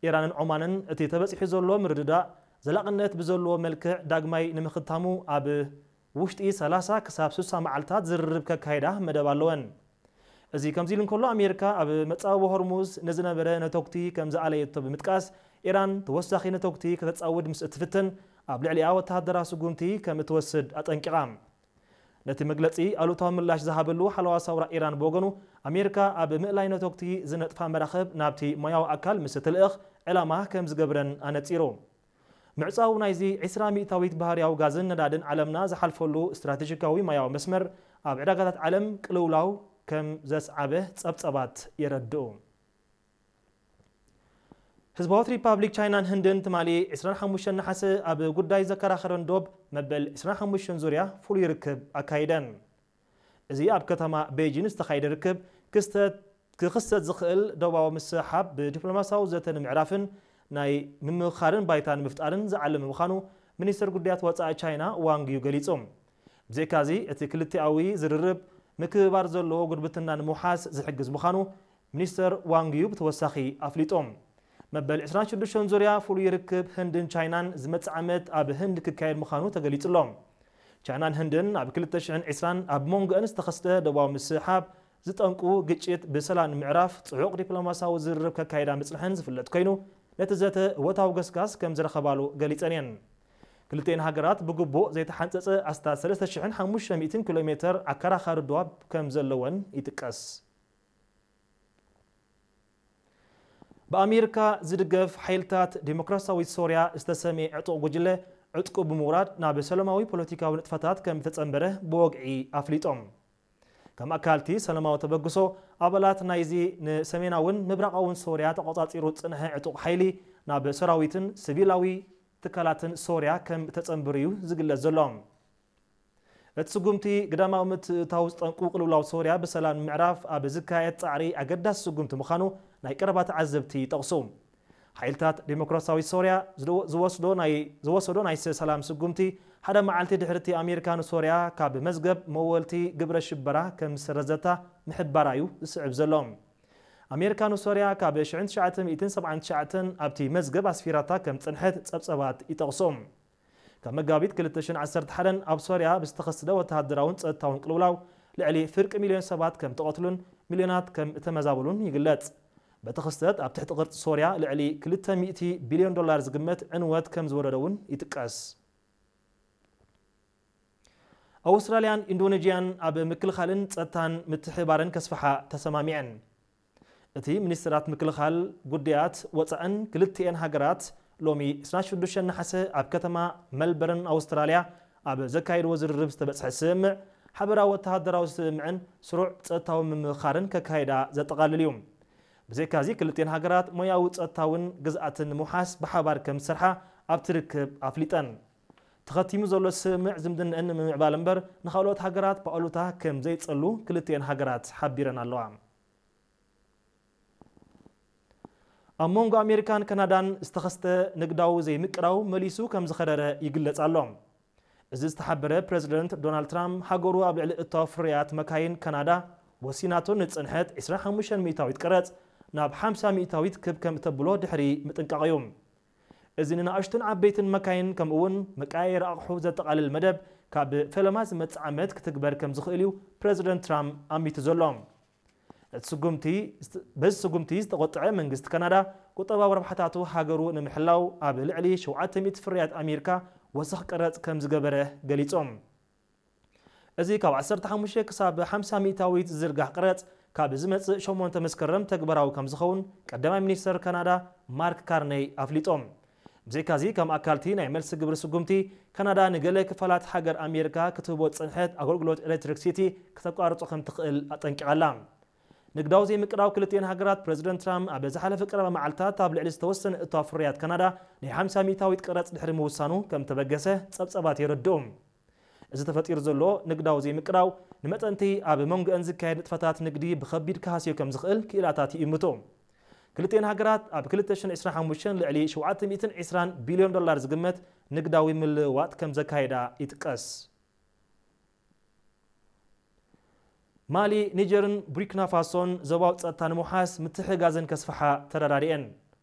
ኢራንን ዖማንን እቲ ተበጺሑ ዘሎ ምርድዳእ ዘላቕነት ብዘለዎ መልክዕ ዳግማይ ንምኽታሙ ኣብ ውሽጢ ሰላሳ ክሳብ ስሳ መዓልታት ዝርርብ ከካይዳ መደብ ኣለወን። እዚ ከምዚ ኢሉ እንከሎ፣ ኣሜሪካ ኣብ መጻብቦ ሆርሙዝ ንዝነበረ ነተጉቲ ከም ዝኣለየቶ ብምጥቃስ፣ ኢራን ተወሳኺ ነተጉቲ ከተጻውድ ምስ እትፍትን ኣብ ልዕሊኣ ወተሃደራዊ ስጉምቲ ከም እትወስድ ኣጠንቂቓ። ነቲ መግለጺ ኣሉታዊ ምላሽ ዝሃበሉ ሓለዋ ሳውራ ኢራን ብወገኑ፣ ኣሜሪካ ኣብ ምእላይ ነተጉቲ ዝነጥፋ መራኽብ ናብቲ ሞያዊ ኣካል ምስ እትልእኽ ዕላማ ከም ዝገብረን ኣነጺሩ። ምዕጻው ናይዚ ዕስራ ሚእታዊት ባህርያዊ ጋዝን ነዳድን ዓለምና ዝሓልፈሉ ስትራቴጂካዊ ማያዊ መስመር ኣብ ዕዳጋታት ዓለም ቅልውላው ከም ዘስዓበ ጸብጸባት የረድኡ። ህዝባዊት ሪፓብሊክ ቻይናን ህንድን ትማሊ ዕስራን ሓሙሽተን ነሓሰ ኣብ ጉዳይ ዘከራኸረን ዶብ መበል ዕስራን ሓሙሽተን ዙርያ ፍሉይ ርክብ ኣካይደን። እዚ ኣብ ከተማ ቤጂን ዝተኻየደ ርክብ ክስተት ክኽሰት ዝኽእል ዶባዊ ምስሕሓብ ብዲፕሎማሲያዊ ዘተ ንምዕራፍን ናይ ምምኽኻርን ባይታ ንምፍጣርን ዝዓለመ ምዃኑ ሚኒስትር ጉዳያት ወጻኢ ቻይና ዋንግ ዩ ገሊጹ። ብዘይካዚ እቲ ክልቲኣዊ ዝርርብ ምክብባር ዘለዎ ጉርብትና ንምውሓስ ዝሕግዝ ምዃኑ ሚኒስትር ዋንግ ዩ ብተወሳኺ ኣፍሊጡ። መበል ዕስራን ሽዱሽተን ዙርያ ፍሉይ ርክብ ህንድን ቻይናን ዝመጽእ ዓመት ኣብ ህንድ ክካየድ ምዃኑ ተገሊጹ ኣሎ። ቻይናን ህንድን ኣብ ክልተ ሽሕን ዕስራን ኣብ መንጎአን ዝተኸስተ ደቡባዊ ምስሕሓብ ዝጠንቁ ግጭት ብሰላም ንምዕራፍ ጽዑቕ ዲፕሎማሲያዊ ዝርርብ ከካይዳ ምጽንሐን ዝፍለጥ ኮይኑ፣ ነቲ ዘተ እወታዊ ገስጋስ ከም ዝረኸባሉ ገሊጸን እየን። ክልቲኤን ሃገራት ብግቡእ ዘይተሓንጸጸ ኣስታት ሰለስተ ሽሕን ሓሙሽተ ሚእትን ኪሎ ሜተር ኣከራኻሪ ዶብ ከም ዘለወን ይጥቀስ። ብኣሜሪካ ዝድገፍ ሓይልታት ዲሞክራሲያዊት ሶርያ ዝተሰምየ ዕጡቕ ጉጅለ ዕጥቁ ብምውራድ ናብ ሰላማዊ ፖለቲካዊ ንጥፈታት ከም ዝተጸንበረ ብወግዒ ኣፍሊጦም። ከም ኣካልቲ ሰላማዊ ተበግሶ፣ ኣባላት ናይዚ ንሰሜናውን ምብራቓውን ሶርያ ተቖጻጺሩ ዝጽንሐ ዕጡቕ ሓይሊ ናብ ሰራዊትን ሲቪላዊ ትካላትን ሶርያ ከም እተጸንብር እዩ ዝግለጽ ዘሎ። እቲ ስጉምቲ ግዳማዊ ምትእትታው ዝጠንቁ ቅልውላው ሶርያ ብሰላም ንምዕራፍ ኣብ ዝካየድ ጻዕሪ ኣገዳሲ ስጉምቲ ምዃኑ ናይ ቀረባ ተዓዘብቲ ይጠቕሱ። ሓይልታት ዲሞክራሲያዊት ሶርያ ዝዶ-፣ ዝወስዶ ናይ፣ ዝወሰዶ ናይ ሰላም ስጉምቲ ሓደ መዓልቲ ድሕሪ እቲ ኣሜሪካ ንሶርያ ካብ መዝገብ መወልቲ ግብረ ሽበራ ከም ዝሰረዘታ ምሕባራ እዩ ዝስዕብ ዘሎ። ኣሜሪካ ንሶርያ ካብ ሽሕን ትሽዓተ ሚእትን ሰብዓን ትሽዓተን ኣብቲ መዝገብ ኣስፊራታ ከም ዝጸንሐት ጸብጸባት ይጠቕሱ። ካብ መጋቢት ክልተ ሽሕን ዓሰርተ ሓደን ኣብ ሶርያ ብዝተኸስተ ወተሃደራውን ጸጥታውን ቅልውላው ልዕሊ ፍርቂ ሚልዮን ሰባት ከም ተቐትሉን ሚልዮናት ከም እተመዛበሉን ይግለጽ። በቲ ክስተት ኣብ ትሕቲ ቅርጺ ሶርያ ልዕሊ ክልተ ሚእቲ ቢልዮን ዶላር ዝግመት ዕንወት ከም ዝወረደ እውን ይጥቀስ። ኣውስትራልያን ኢንዶኔዥያን ኣብ ምክልኻልን ጸጥታን ምትሕብባረን ከስፍሓ ተሰማሚዐን። እቲ ሚኒስትራት ምክልኻል ጉዳያት ወጻእን ክልቲኤን ሃገራት ሎሚ ዕስራን ሽዱሽተን ነሓሰ ኣብ ከተማ መልበርን ኣውስትራልያ ኣብ ዘካየድዎ ዝርርብ ዝተበጽሐ ስምምዕ፣ ሓበራዊ ወተሃደራዊ ስምምዕን ስሩዕ ጸጥታዊ ምምኽኻርን ከካይዳ ዘጠቓልል እዩ። ብዘይካዚ ክልቲኤን ሃገራት ሞያዊ ጸጥታውን ግዝኣትን ንምውሓስ ብሓባር ከም ዝሰርሓ ኣብቲ ርክብ ኣፍሊጠን። ተኸቲሙ ዘሎ ስምምዕ ዝምድነአን ንምምዕባል እምበር ንኻልኦት ሃገራት ብኣሉታ ከም ዘይጸሉ ክልቲኤን ሃገራት ሓቢረን ኣለዋ። ኣብ መንጎ ኣሜሪካን ካናዳን ዝተኸስተ ንግዳዊ ዘይምቅራው መሊሱ ከም ዝኸረረ ይግለጽ ኣሎ። እዚ ዝተሓበረ ፕረዚደንት ዶናልድ ትራምፕ ሃገሩ ኣብ ልዕሊ እታው ፍርያት መካይን ካናዳ ወሲናቶ ንጽንሐት ዕስራን ሓሙሽተን ሚእታዊት ቀረጽ ናብ ሓምሳ ሚእታዊት ክብ ከም እተብሎ ድሕሪ ምጥንቃቕ እዩ። እዚ ንንኣሽቱን ዓበይትን መካይን ከምኡ እውን መቀያየሪ ኣቕሑ ዘጠቓልል መደብ ካብ ፈለማ ዝመጽእ ዓመት ክትግበር ከም ዝኽእል እዩ ፕረዚደንት ትራምፕ ኣሚቱ ዘሎ። እቲ ስጉምቲ፣ በዚ ስጉምቲ ዝተቖጥዐ መንግስቲ ካናዳ ቁጠባዊ ረብሓታቱ ሃገሩ ንምሕላው ኣብ ልዕሊ ሸውዓተ ሚእቲ ፍርያት ኣሜሪካ ወሰኽ ቀረጽ ከም ዝገበረ ገሊጾም። እዚ ካብ ዓሰርተ ሓሙሽተ ክሳብ ሓምሳ ሚእታዊት ዝዝርጋሕ ቀረጽ ካብ ዝመጽእ ሸሞንተ መስከረም ተግባራዊ ከም ዝኸውን ቀዳማይ ሚኒስተር ካናዳ ማርክ ካርነይ ኣፍሊጦም። ብዘይካዚ ከም ኣካልቲ ናይ መልሲ ግብሪ ስጉምቲ ካናዳ ንገለ ክፋላት ሃገር ኣሜሪካ ክትህቦ ዝጸንሐት ኣገልግሎት ኤሌክትሪክሲቲ ክተቋርጾ ከም ትኽእል ኣጠንቂቓ ኣላ። ንግዳዊ ዘይምቅራው ክልቲኤን ሃገራት ፕረዚደንት ትራምፕ ኣብ ዝሓለፈ ቀረባ መዓልታት ኣብ ልዕሊ ዝተወሰነ እታው ፍርያት ካናዳ ናይ ሓምሳ ሚእታዊት ቀረጽ ድሕሪ ምውሳኑ ከም ተበገሰ ጸብጸባት የረድኡ። እዚ ተፈጢሩ ዘሎ ንግዳዊ ዘይምቅራው ንመጠንቲ ኣብ መንጎአን ዝካየድ ንጥፈታት ንግዲ ብኸቢድ ክሃስዮ ከም ዝኽእል ክኢላታት ይእምቱ። ክልቲኤን ሃገራት ኣብ ክልተ ሽሕን ዕስራን ሓሙሽተን ልዕሊ ሸውዓተ ሚእትን ዕስራን ቢልዮን ዶላር ዝግመት ንግዳዊ ምልውዋጥ ከም ዘካየዳ ይጥቀስ። ማሊ፣ ኒጀርን ቡርኪና ፋሶን ዞባዊ ጸጥታ ንምውሓስ ምትሕግጋዘን ከስፍሓ ተረዳዲኤን።